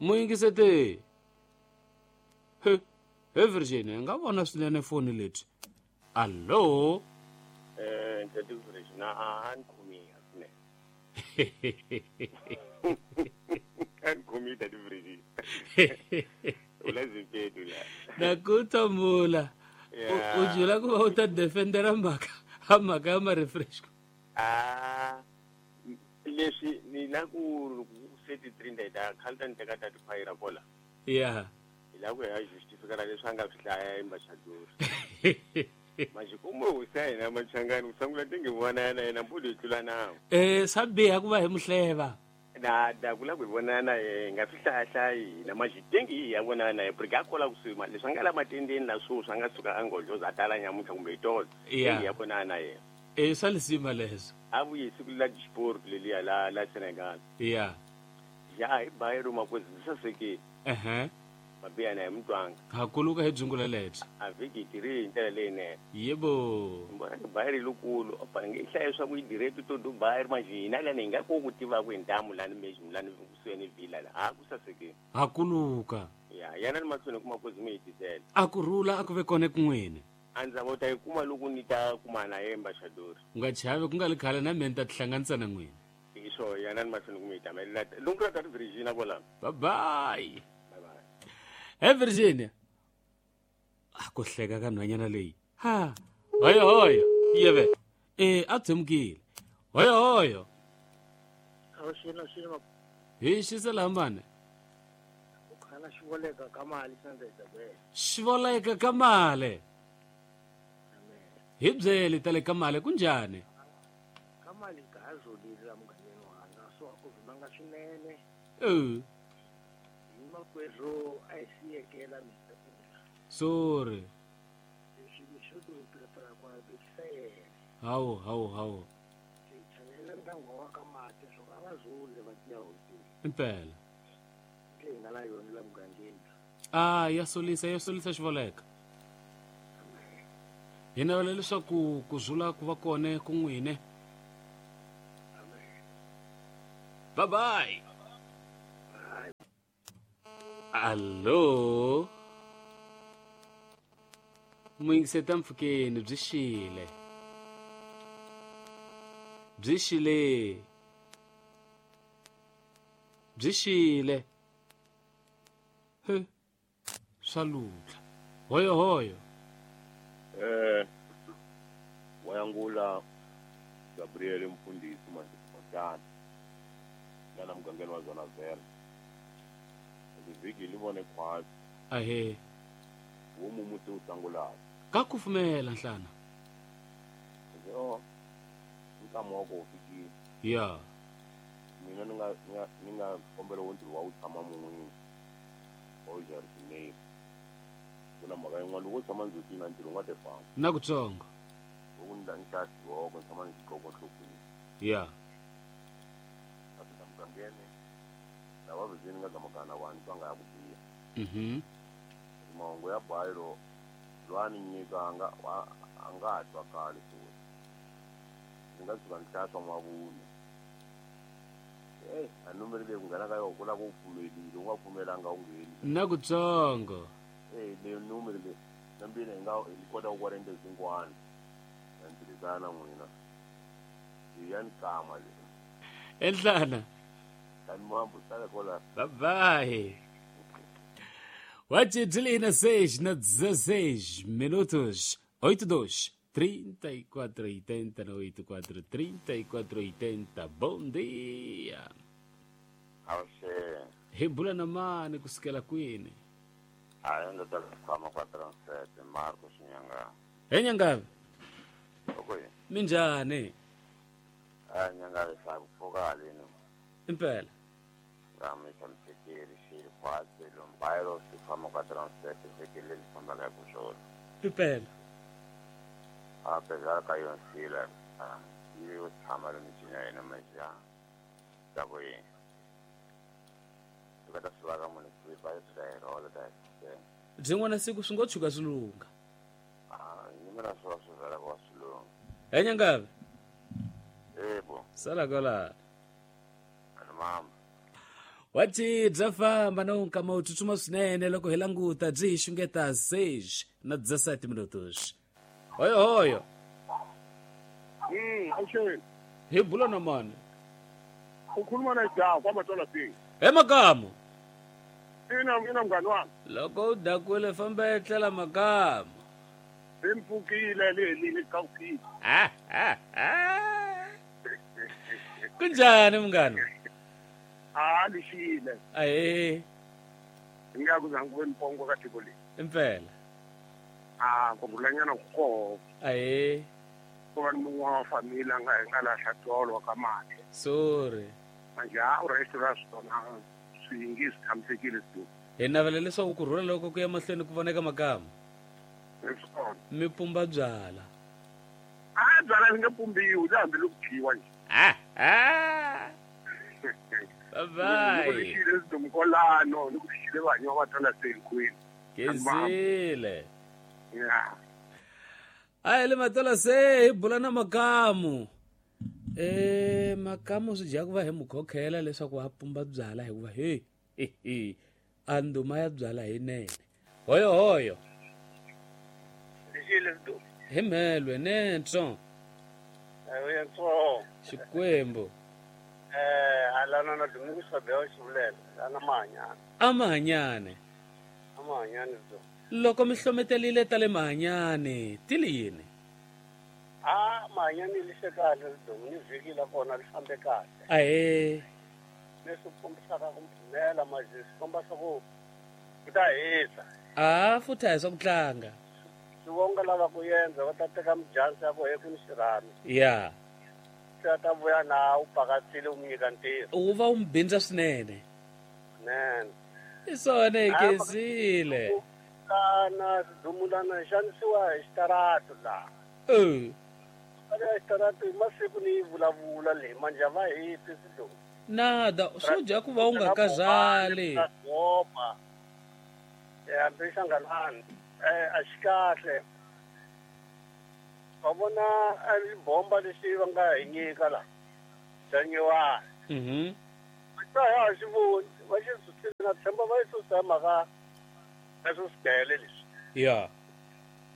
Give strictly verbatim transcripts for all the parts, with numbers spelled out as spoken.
Muyingisete. He, he Virginia, nga vona swinene foni leti. Allo? Eh, Ntati Virginia, a ni khomi swinene. A ni khomi Ntati Virginia. U la zimpedu la. Na ku tomula. U jula ku va u ta defendera mhaka, mhaka ya ma-refresh. Ah, leswi ni la ku thirty-three nda khale ni teka tati phayira kola. Yeah. Hi la ku ya justifika leswi a nga swi hlaya embassador. Majikumo u sa yena machangani u sangula tingi vona yena yena mbulo yi tlula nawu. Eh, swa biha ku va hi muhleva. Na da ku la ku vona na yena nga swi hlaya hlayi na majitengi hi ya vona na yena porque a kola kusuhi ma leswi a nga la matendeni la swo swi nga suka a ngodloza a tala nyamuntlha kumbe itolo. Yeah. Ya vona na yena. Eh, swa lisima leswo. A vuye siku la disport leliya la la Senegal. Yeah. Ya hi bayero makwezi sasekile. Ehe. Mabiya na hi mutwanga. Ha kuluka hi dzungula lebyi. A vhiki tiri hi ndlela leyinene. Yebo. Mbona ni bayeri lokulu a bangi i hlaya swa ku yi direct to Dubai manje hina lani hi nga ko ku tiva ku hi ntamu lani meji lani kusuhi ni villa la ha ku sasekile. Ha kuluka. Ya yana ni mahlweni ku makwezi mi hi tisela. A ku rhula a ku ve kona kun'wini. A ndzi ta yi kuma loko ni ta kuma na ye ambassador. U nga chavi ku nga li khale na mina ni ta tihlanganisa na n'wina. Hi swo yana ni mahlweni ku mi hi tamela. Loko ku ri Virginia kwala. Bye bye. Bye bye. He Virginia. A ku hleka ka nhwanyana leyi. Ha. Hoyo hoyo. Yeve. Eh, a tshemukile. Hoyo hoyo. Awuxina xina. Hi xisela hambane. U khala xivoleka ka mali sandza bele. Xivoleka ka mali. Hi byele tale ka mali kunjani? Ka mali ka azolile la mugangeni wanga so a ku vumanga swinene. Eh. Hi makwerhu a hi siyekela mina. Sorry. Leswi swo to prepara kwa bekisa yena. Hawu hawu hawu. Chanela ndyangu wa ka mati swo a va zule va tiya hotini. Impela. Leyi nga la yona la mugangeni. Ah, ya solisa ya solisa xivoleka. Hi navela leswaku ku zula ku va kona ku n'wine. Bye bye. Allo. Muyingiseta mpfhukeni byi xile. Byi xile. Byi xile. He. Swa lutla. Hoyo hoyo. Eh, wayangula Gabriel mfundisi manje lana mugangeni wa zona vela. Vhiki li vone khwatsi. Ahe. Wo mumuti u sangulaka. Ka kufumela nhlana. Yo. Nkama wa ku fikile. Ya. Mina ni nga ni nga kombela wo ntirho wa wu tshama mun'wini. Wa wu kuna mhaka yin'wana loko u tshama ndzhutini na ntirho u nga ti famba. Na kutsongo. Loko ni ni xava xiqhoko ni tshama ni xiqhoko nhlokweni. Ya. A fika mugangeni lava vhizini nga gamagana vanhu va nga ya ku biha. Mhm. Mahungu ya bayiro loyi a ni nyika a nga a nga ha twakali swona. Ndzi nga tshuka ni hlaya swa mavunwa. Eh, a numeri leyi ku nghena ka yona ku lava u pfumelile u nga pfumelanga u ngheni. Na kutsongo. Eh, leyi numeri leyi na mbila hi nga hi kota ku vona into zin'wana. Na ntirhisana n'wina. Ya ni kama leyi. Enhlana. Tani mambo sala kola. Bye bye. Oito de seis na dezesseis minutos. Oito dois trinta e quatro oitenta oito quatro trinta e quatro oitenta. Bom dia. Awuxe. Hi bula na mani kusukela kwini? Hayi ndo ta khama kwa transete Marco Shinyanga. He Nyanga. Okay. Minjhani? Ah Nyanga sa ku lino. Impela. Rami samsekeri xi khwatsi lombayro swi famba kwa transete sekele li famba ka ku swona. Impela. A pezar ka yonsila yi yo tshama le michini ya yena maja. Ta ku yini? Swi ta swi ka munhu swi va swi rola ta. Byin'wana siku swi ngo tshuka swi lungha. Ah, ni mina swi va swi vela ku swi lungha. He Nyangavi. Yebo. Sala kwala. Mama. Wathi bya famba na nkama wu tsutsuma swinene loko hi languta byi hi xungeta seis na dezessete minutos. Hoyo hoyo. Mm, awusheni. Hi bula na mani? Ukhuluma na Jawu kwaMatola B. Emakamu. Ina ina mngani wami. Loko u dakwile famba etlela makamu. Simpfukile leli likawukile. Ah ah ah. Kunjani mngani? Ah lishile. Aye. Ngiyakuza ngikube nibongo ka tiko le. Impela. Ah ngobulanyana kuko. Aye. Kuba mungu wa familia nga ngalahla tolo kamathe. Sorry. Manje a u restaurant sona swingisi thamsekile sidu. Hi navela leswaku ku rhula loko ku ya mahlweni ku voneka makamu. Leswona. Mi pumba byala. Ah byala li nga pumbiwi la hambi loko dyiwa nje. Ah ah. Bye bye. Ni ku lixile sidomkolano, ni ku lixile vanhu va tala senkwini. Kezile. Yeah. Ayi le Matola se hi bula na makamu. Eh makamu swi dya ku va hi mukhokhela leswaku a pumba byala hikuva he he a nduma ya byala hi nene. Hoyo hoyo. Lixile sido. Hi mhelwe nentso. Ayo ntso. Xikwembu. Eh alana na Domingo Sabel xivulela ana mahanyana. Amahanyane. Amahanyane sido. Loko mi hlometelile ta le mahanyane ti li yini? Ah mahanyane li xe kahle sido ni vhiki la kona li fambe kahle. Ahe. Leswi kombisaka ku mpfumela manje swi komba swa ku ku ta hisa. Ah futhi a hi swa ku tlanga. Swi vonga lava ku endza va ta teka mijansi ya ku he ku ni xirhami. Ya. Se a ta vuya na u pakatsile u mi nyika ntirho. U va u mi bindza swinene. Swinene. Hi swona hi kezile. Kana sidumulana hi xanisiwa hi xitaratu laha. Eh. Eka xitaratu hi masiku ni yi vulavula leyi manje a va hi twi sidumu. Nada swo dya ku va u nga kazali. Goma. Eh hambi xangalani. Eh a xi kahle. Va vona a bomba lexi va nga hi nyika la. Xa nyiwani. Mhm. Va ha xi voni, va xi susile na tshemba va yi susa hi mhaka ya swo swidele leswi. Ya.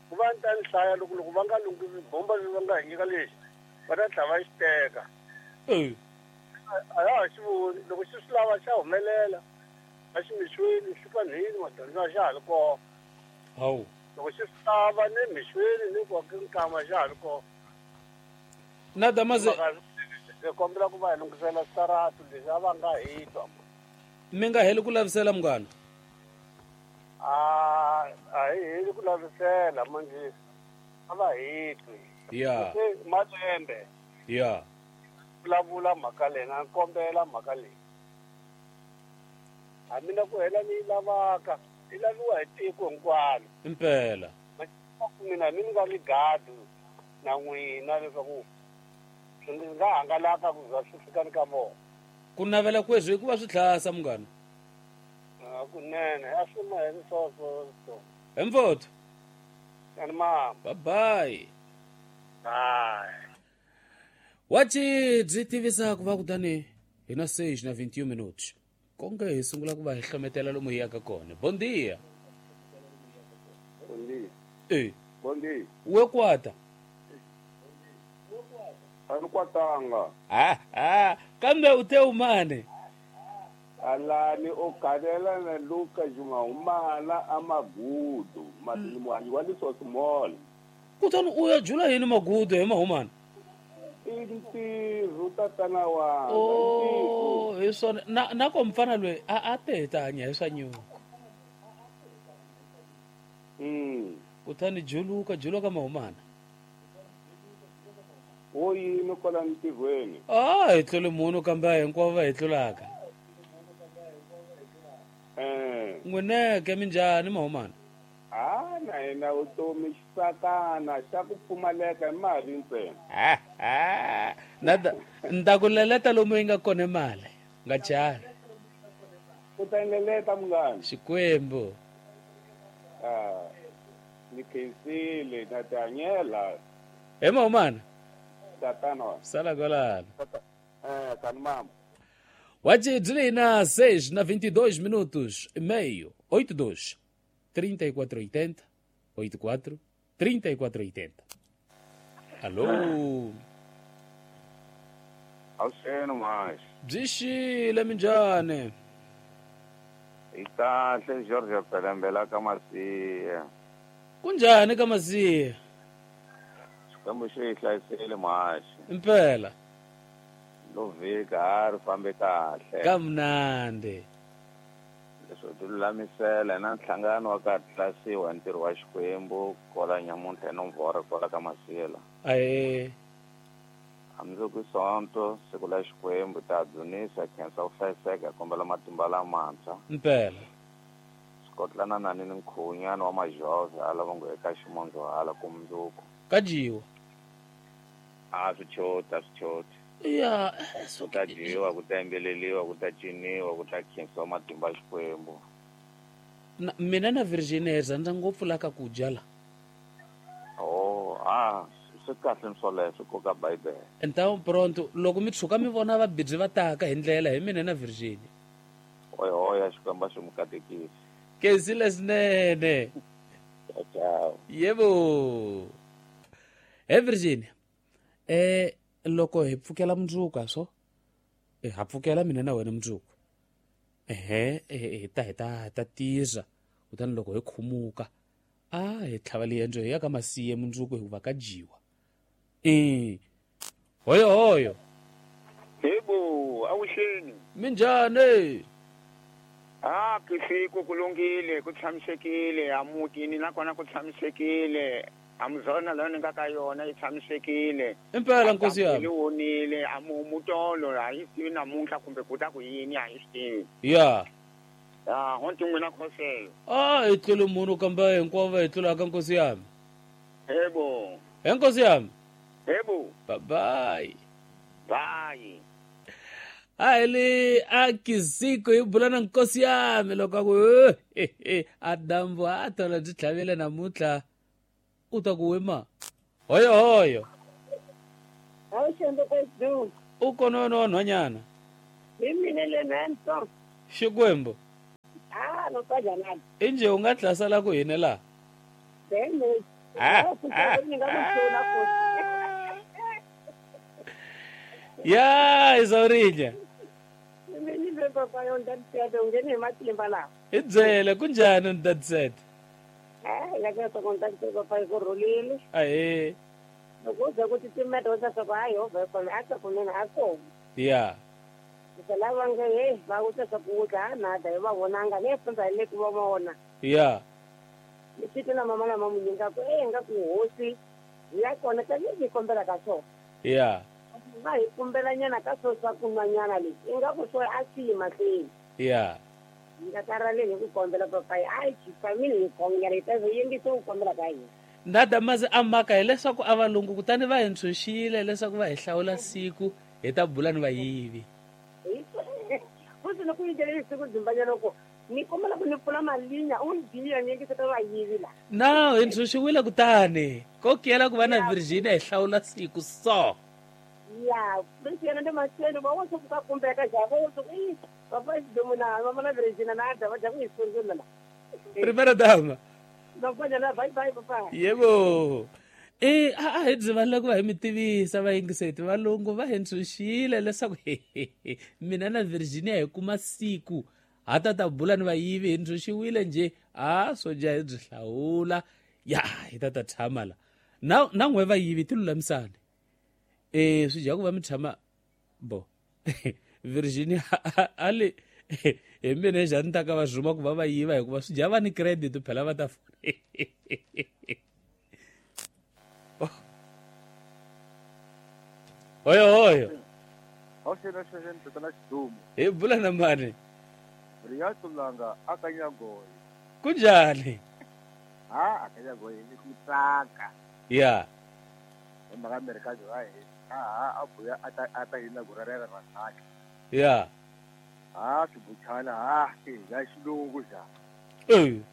Ku va ni ta ni hlaya loko loko va nga lunghisi bomba lexi va nga hi nyika lexi va ta tlhela va xi teka. Eh. A ya ha xi voni loko xi swi lava xa humelela a xi mixweni xi panhini madyondzo xa ha ri kona. Hawu. Loko xi swi lava ni mixweni ni ku nkama xa ha ri kona. Nada maze hi kombela ku va hi lunghisela switaratu leswi a va nga hi twa. Mi nga heli ku lavisela munghana? A a hi heli ku lavisela manje a va hi twi. Ya. Se malembe. Ya. Vulavula mhaka leyi na kombela mhaka leyi. Hambi na ku hela ni yi lavaka yi laviwa hi tiko hinkwalo. Impela. Mina mi nga ni gadi na n'wina leswaku swi nga hangalaka ku za swi fika ni ka vona. Ku navela kweswi hikuva swi tlhasa munghana. Kunene a swi maheli swoswo so. Hi mfowethu. Ani mama. Bye bye. Bye. Wathi byi tivisa ku va kutani hi na seis na vinte e um minutos. Konke hi sungula ku va hi hlometela lomu hi yaka kona. Bom dia. Bom dia. Eh. Bom dia. We kwata. A ni kwatanga. Ah ah, kambe u te umane. Alani o galela na Luka Juma umala amagudu madini wa liso small. Kutani u ya jula yini magudu hi mahumana? I ntirho tatana wanga. Oh, hi swona na na ko mfana loyi a a tetanya hi swa nyuku. Mm. Kutani juluka juluka mahumana. Wo yini kwala ntirhweni? Ah, hi tlule munhu kambe hinkwavo va hi tlulaka. Eh. N'wineke minjhani mahumana? Ah, na hina vutomi xisakana xa ku pfumaleka hi mali ntsena. Ah ah. Nada nda ku leleta lomu yi nga kona mali. Nga chavi. U ta leleta munghana. Xikwembu. Ah. Ni khensile na tihanyela. He mahumana. Tatana. Sala kwalano. Eh, tani mama. Wajidlina seis na vinte e dois minutos e meio, oito dois, trinta e quatro oitenta, oito quatro, trinta e quatro oitenta. Alô? Awuseno mais. Bzixile minjhani? Hi kahle George Pelembela ka Masiya. Kunjhani ka Masiya? Xikwembu xi hi hlayisile mhaxi. Impela. Lo vhiki a ri fambe kahle. Ka mnandi. Leswo ti lulamisela na nhlangano wa ka tlasiwa ntirho wa Xikwembu kola nyamuntlha nomboro kola ka Masiya. Ahe. Hambiloko Sonto siku la Xikwembu ta dzunisa khensa ku hlayiseka kombela matimba lamantshwa. Impela. Swikotlana na ni nkhunyana wa majove ala va ngo eka ximondzo hala kumundzuku. Ka dyiwa. A swi choti a swi choti. Ya, ku ta dyiwa, ku ta yimbeleliwa, ku ta ciniwa, ku ta khensiwa matimba ya Xikwembu. Na mina na Virginia hi rhandza ngopfu la ka ku dya la. Oh, ah. Swi kahle swoleswo koka Bibele. Então pronto, loko mi tshuka mi vona vabidzi va taka hi ndlela hi mina na Virginia. Oy oy Xikwembu xi mu katekisa. Kezile swinene. Ciao ciao. Yebo. He Virginia. Eh loko hi pfukela mundzuku so eh ha pfukela mina na wena mundzuku. Ehe hi ta hi ta ta tiza kutani loko hi khumuka a hi tlhava liendzo hi ya ka Masiye mundzuku hikuva ka dyiwa. Eh. Hoyo hoyo. Yebo, awuxeni. Minjhani? Ah, kisiku kulungile, ku tshamisekile, amutini nakona ku tshamisekile. Amuzona la ni nga ka yona yi tshamisekile. Impela nkosi yami. Yi wonile, amumutolo a yi tivi namuntlha kumbe ku ta ku yini a yi swi tivi. Ya. Ah, honti n'wina khoselo. Ah, hi tlule munhu kambe hinkwavo va hi tlulaka nkosi yami. Yebo. He nkosi yami. Yebo. Bye bye. Bye. A le a kisiko hi bula na nkosi yami loko a ku a dambu a tola byi tlhavile namuntlha u ta ku wema. Hoyo hoyo. U kona wena wa nhwanyana. Hi mina le Nanto. Xikwembu. Ah, no ka jana. Inje u nga tlasala ku hina la. Bene. Ah. Ya, Isaurinya. Mina papa yo ndadisete ungene matimba la. Hi byele kunjhani ndadisete? Eh, la ka ta ndadisete papa ku rhulile. Ahe. Loko za ku titimeta wa swa hayi ho va kona a ta kunene a kona. Ya. Lava nge hey va ku ta ku dla na da va vonanga le fundza le ku va vona. Ya. Ni tshike na mama na mamu nga ku eh nga ku hosi ya kona ka ni kombela ka so. Ya. Va hi kumbela nyana ka so swa kunwanyana leswi i nga ku swo a swi mahlweni. Ya. Nga karhaleni hi ku kombela papa a hi family hi khongela hi ta yingisa ku kombela ka hina. Ndada mazi a mhaka hileswaku a valungu kutani va hi ntshunxile leswaku va hi hlawula siku hi ta bula ni vayivi. Futhi loko yi dyele siku dzimbanyana loko ni kombela ku ni pfula malinya u ndiya ni yingisa ta vayivi la. Na hi ntshunxiwile kutani ko kiyela ku va na Virginia hi hlawula siku so. Ya, leswi yena ndi mahlweni va wo swi ka kumbeka ja va wo swi i papa xidumuna mama na Virginia na da va dya ku hi sungula la. Primera dama. Bye bye papa. Yebo. Eh a a hi byi valula ku va hi mi tivisa vayingiseti valungu va hi ntshunxile leswaku mina na Virginia hi kuma siku ha ta ta bula ni vayivi hi ntshunxiwile njhe a swo dya hi byi hlawula ya hi ta ta tshama la na na n'we vayivi ti lulamisani. Eh swi dya ku va mi tshama bo Virginia a le hi mina njhani ta ka va zuma ku va va yiva hikuva swi dya va ni credit phela va ta hoyo hoyo. Awuxena xexeni tatana Xidumu. Hi bula na mani? Riyatulanga akanyagoyi. Kunjhani? Ha akanyagoyi ni ku tsaka. Ya. Hi mhaka Amerika byo a hi a a buya a ta a ta yina gurarela ra tsaka. Ya. Ha swibuchana ha ya xilungu xa. Eh.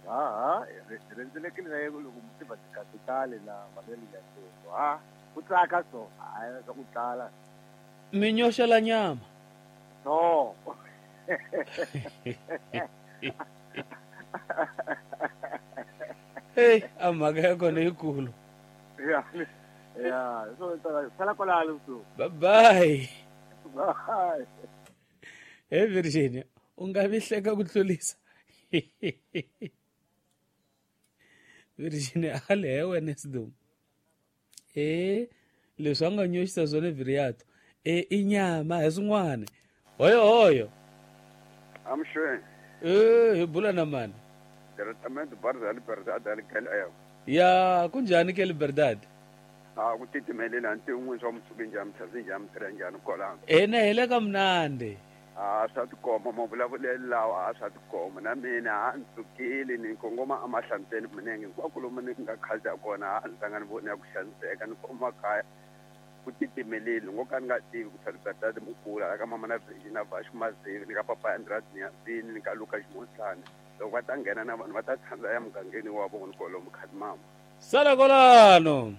Ha ha rhendzelekile na yena loko mutiva tikapitali na manele ya tiko. Ha ku tsaka so hayi swa ku tala. Mi nyoxela nyama. No. Hey, a mhaka ya kona yikulu. Ya. Ya, so sala kwalano so. Bye bye. Bye. Hey Virginia, u nga vi hleka ku tlulisa. Virginia a le wena Sidum. Eh, leswi a nga nyoxisa swona Viriato. Eh, i nyama hi swin'wana. Hoyo hoyo. I'm sure. Eh, hi bula na mani. Diretamente Barza Liberdade ali Ya, kunjani ke Liberdade? Ah, ku titimelela ntin'we swa mutsuki njhani muthazi njhani mutirha njhani kwalano. Ena hi le ka mnandi. Ah, swa tikomba mavulavulelo lawa a swa tikomba na mina a ni tsukile ni kongoma emahlanteni minenge hinkwako lomu ni nga khaja kona a ni tlanga ni vona ya ku xaniseka ni koma kaya ku titimeleli ngo ka ni nga tivi ku Liberdade mukula ka mama na Virginia Vashu Mazivi ni ka papa Andrade Nyazini ni ka Luka Ximosana loko va ta nghena na vanhu va ta tshandza ya mugangeni wa vona kwalomu Khadimama. Sala kwalano.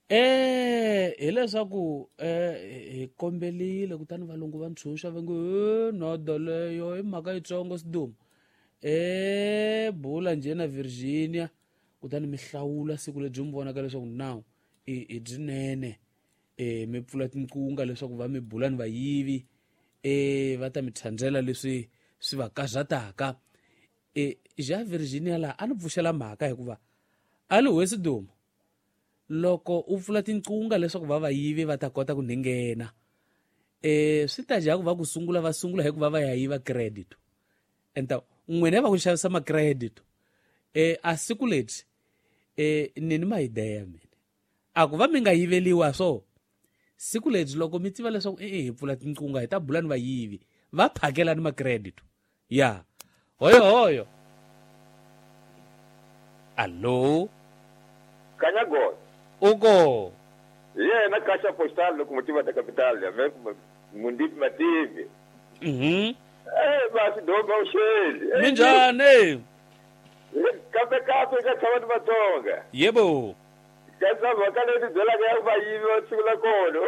Eh, hileswaku eh hi kombelile kutani valungu va ntshunxa va ngo nodo leyo i mhaka yitsongo Siduma. Eh, bula njhe na Virginia kutani mi hlawula siku lebyi mi vonaka leswaku now i i byinene eh mi pfula tinqunga leswaku va mi bula ni vayivi eh va ta mi thandzela leswi swi va karhataka. Eh ja Virginia la a ni pfuxela mhaka hikuva a li we Siduma loko u pfula tinqunga leswaku va vayivi va ta kota ku nghena eh swi ta ja ku va ku sungula va sungula hikuva va ya yiva credit enta n'wina va ku xavisa ma credit eh a siku leti eh ni ni mayideya mina a ku va mi nga yiveliwa so siku leti loko mi tiva leswaku eh hi pfula tinqunga hi ta bula ni vayivi va phakela ni ma credit ya hoyo hoyo. Allo Kanyago uko yena kasha postal locomotiva da capital ya Mundipi Mativi. Mhm. Eh basi domba usheli. Minjani? Kape kape ka tshama ni Vatsonga. Yebo. Ka mhaka leyi byelaka ya vayivi va siku la kona.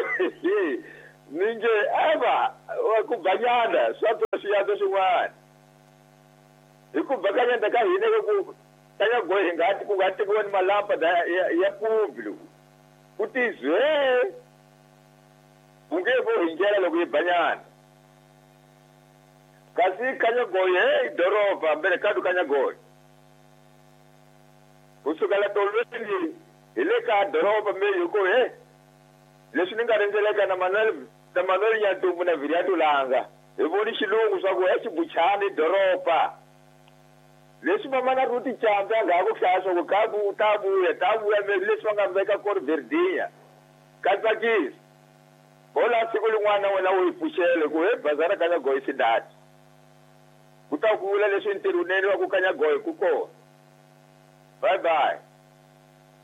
Ninge ava wa ku banyana swa swi swin'wana. Hi ku bakanyana ka hina ku Kanyago hi nga ku nga tekiwa ni malapa ya ya public. Ku tizwe u nge vo hi ndlela loko yi banyana. Kasi Kanyagoyi hey doroba mbele kadu Kanyagoyi. Kusukela tolweni hi le ka doroba me hi ku he leswi ni nga rhendzeleka na Manuel na Manuel Nyatumbu na Viriato Langa hi voni xilungu swa ku he xibuchani doroba. Leswi mama na Ruti Chamba nga ku hlaya swa ku ka bu ta vuya ta vuya me leswi va nga veka kona Virginia ka tsakisa. Hola siku lin'wana wena u yi pfuxele ku he bazara Kanyagoyi xidati. Ku ta ku vula leswi ntirho wunene wa ku Kanyagoyi ku kona. Bye bye.